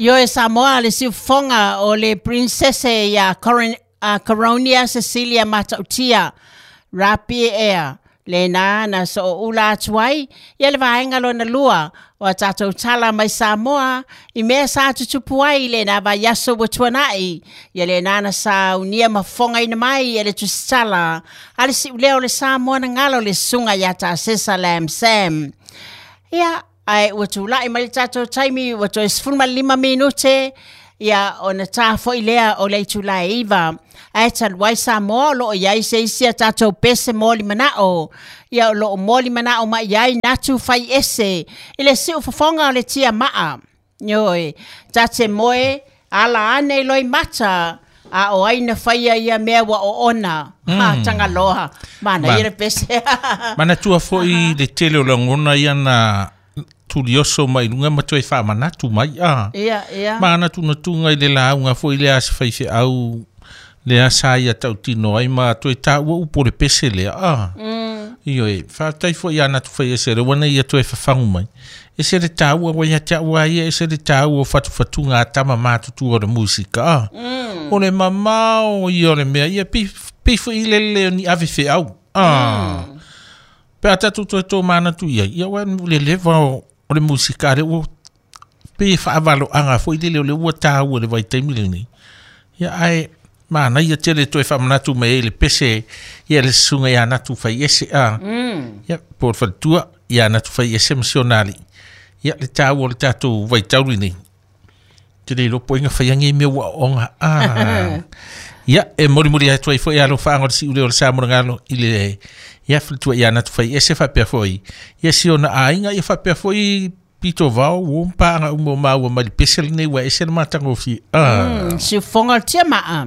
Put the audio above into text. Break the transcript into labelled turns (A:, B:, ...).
A: Ioe Samoa le siufofoga o le Princese ia Corin, uh, Coronia Cecilia Matautia Rapie Air lena na sooula atu ai ia le vaega lona lua o a tatou tala mai Samoa i mea sa tutupu ai i lena vaiaso ua tuanai ia lena na saunia ma fofogaina mai e le tusitala a le siuleo o le Samoa na galo le susuga ia Tasesa Lam Sam. Ia, ae ua tulai mai le tatou taimi ua toe 15 minute ia ona ta foi lea o le itula e 9. Ae talu ai Samoa o lo o i ai se isi a tatou pese moli manao, ia o lo o moli manao mai i ai natu fai ese i le siufofoga o le tia maa. Ioe, ta te moe ala ane i loimata, a o ai na faia ia mea ua oona. Mm. Ha, Tagaloa. Manaia Ma, le pese.
B: manatua foi le tele o lagona ia na tulioso mai luga ma toe faamanatu mai a.
A: Ia, ia.
B: Manatunatuga i le lauga foi lea a se faifeau lea sa ia tautino ai ma toe taua upu o le pese lea a. Mm. Ioe, faafetai foi ia Natu Faiese le ua ia toe fafagu mai. Ese le taua ua ia te au a ia, ese le taua o fatufatuga a tama matutua o le musika a. Mm. O le mamao ia o le mea, ia pei, pei foi le le o ni ave feau. A. Mm. Pe a tatou toe tōmanatu i ai, ia ua le leva o, o le musika lea ua pei e faavaloaga foi lele o le ua taua i le vaitaimi lenei. Ia ae manaia tele toe faamanatu mai ai le pese ia le susuga ia Natu Faiese a. Mm. Ia po o le faletua ia Natu Faiese ma si ona alii. Ia le taua o le tatou vaitau lenei. Te le iloa po o ai na faia nei mea ua aoga. Ah. Ia, e molimoli atu ai foi alofaaga o le siuleo o le Samoa i le ia faletua ia Natu Faiese faapea foi ia si ona aiga ia faapea foi pito vao ua paaga uma o maua mai le pese lenei ua ese le matagofie.
A: Ah. Mm, siufofoga o le tia maa.